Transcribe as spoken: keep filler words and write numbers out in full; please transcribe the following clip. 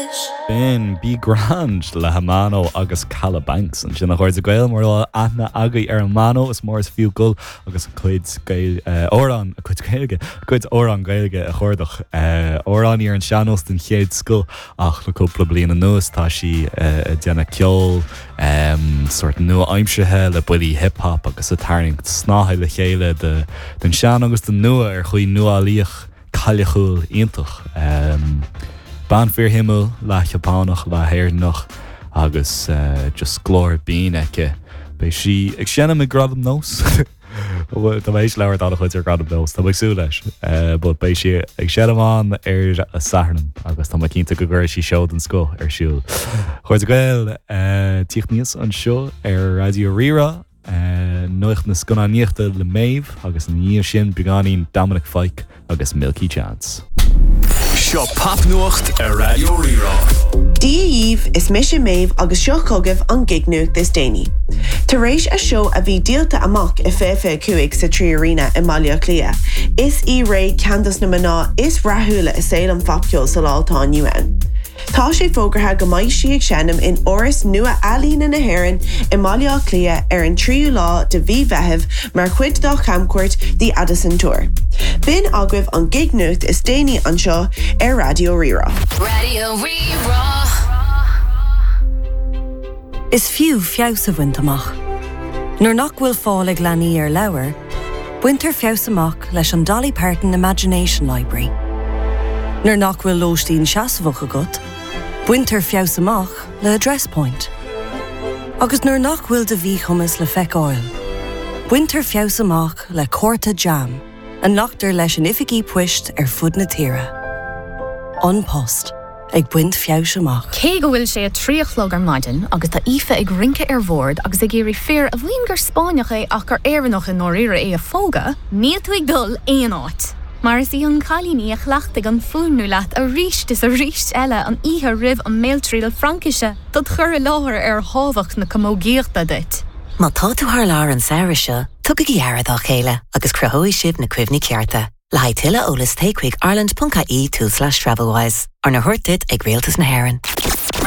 rush. B'in Be Grand le Hamano agus Kalabanx ansin a chairde Gael mar aithne agaibh ar Amano is mór is fiú dul agus a cuid amhrán a cuid Gaeilge cuid amhrán Gaeilge a chuardach amhránaí ar an sean-nós den chéad scoth ach le cúpla bliain anuas tá sí ag déanamh ceol sort nua-aimseartha le buillí hip-hop agus ag tarraingt snáithe le chéile de den sean agus den nua ar chaoi nuálaíoch cailleachúil iontach. Um, Bean fíorshuimiúil leath-Sheapánach leath-Éireannach agus uh, just glór binn aici. Beidh sí ag seinm ag Gradam Nós Tá mééis leir dá chuid ar Gradam Nós Tá sú leis, but beidh sí ag seinm ann ar an Satharn agus tá cinnte go gcuirfidh sí seó den scoth ar siúl. Chairde Gael tíocht níos anseo ar Raidió Rí-Rá nuacht na scannánaíochta le Méabh agus ina dhiaidh sin beagáinín Dominic Fike agus Milky Chance. Seo popnuacht ar Raidió Rí-Rá. Dia dhaoibh is mise Méabh agus seo chugaibh an gig-nuacht is déanaí. Tar éis a seó a bhí díolta amach i fiche cúig sa Trí Arena i mBaile Átha Cliath. Is í Raye ceann de na mná is rathúla i saol an phopcheoil sa lá atá inniu ann. Tá sé fógartha go mbeidh sí ag seinm in Áras Nua Ealaíne na hÉireann i mBaile Átha Cliath ar an tríú lá de mhí Mheithimh mar chuid dá camchuairt The Addison Tour. B'in agaibh an gig-nuacht is déanaí anseo ar Raidió Rí-Rá. Raidió Rí-Rá. Is fiú feabhas a bhaint amach. Nuair nach bhfuil fáil ag leanaí ar leabhar, baintear feabhas amach leis an Dolly Parton Imagination Library. Nuair nach bhfuil lóistín seasmhach agat, baintear feabhas amach le Address Point. Agus nuair nach bhfuil do mhíchumas le feiceáil, baintear feabhas amach le cárta JAM a nglactar leis in oifigí poist ar fud na tíre. An Post ag baint feabhais amach. Cé go bhfuil sé a trí a chlog ar maidin agus tá Aoife ag rince ar bhord agus ag iarraidh fear a mhaíonn gur Spáinneach é ach gur Éireannach i ndáiríre é a phógadh, níl tú ag dul aon áit. Mar is í an cailín í a chleachtaigh an fuaimniú leat arís is arís eile an oíche roimh an mbéaltriail Fraincise dod chur i láthair ar thábhacht na camógaíochta duit. Má tá tú thar lear an samhradh seo, tugaigí aire dá chéile agus cruthóidh sibh na cuimhní cearta. Le haghaidh tuilleadh eolais téigh chuig ireland.ie tulslais Travelwise, arna thabhairt duit ag Rialtas na hÉireann.